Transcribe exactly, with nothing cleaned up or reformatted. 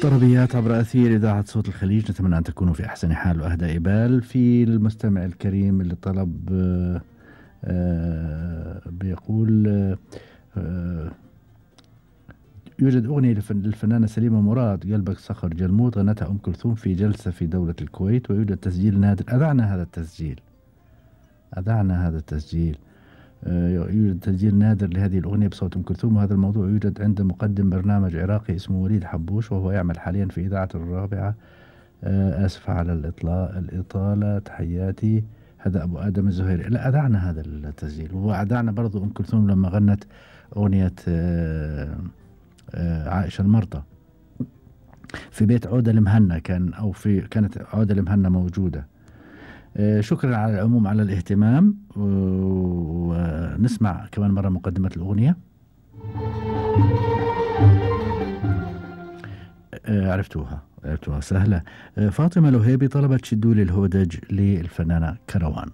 طربيات عبر أثير إذاعة صوت الخليج، نتمنى أن تكونوا في أحسن حال وأهدى بال. في المستمع الكريم اللي طلب آه آه بيقول آه آه يوجد أغنية للفنانة سليمة مراد قلبك صخر جلمود غنتها أم كلثوم في جلسة في دولة الكويت، ويوجد تسجيل نادر. أذعنا هذا التسجيل أذعنا هذا التسجيل يوجد تسجيل نادر لهذه الأغنية بصوت أم كلثوم، وهذا الموضوع يوجد عند مقدم برنامج عراقي اسمه وليد حبوش، وهو يعمل حاليا في إذاعة الرابعة. آسف على الإطلاء الإطالة، تحياتي. هذا أبو آدم الزهيري. لا، أذعنا هذا التسجيل، وأذعنا برضو أم كلثوم لما غنت أغنية عائشة المرضى في بيت عودة المهنا، كان أو في كانت عودة المهنا موجودة. شكرا على العموم على الاهتمام، ونسمع كمان مرة مقدمة الأغنية. عرفتوها عرفتوها سهلة. فاطمة لهيبي طلبت شدوا لي الهودج للفنانة كروان.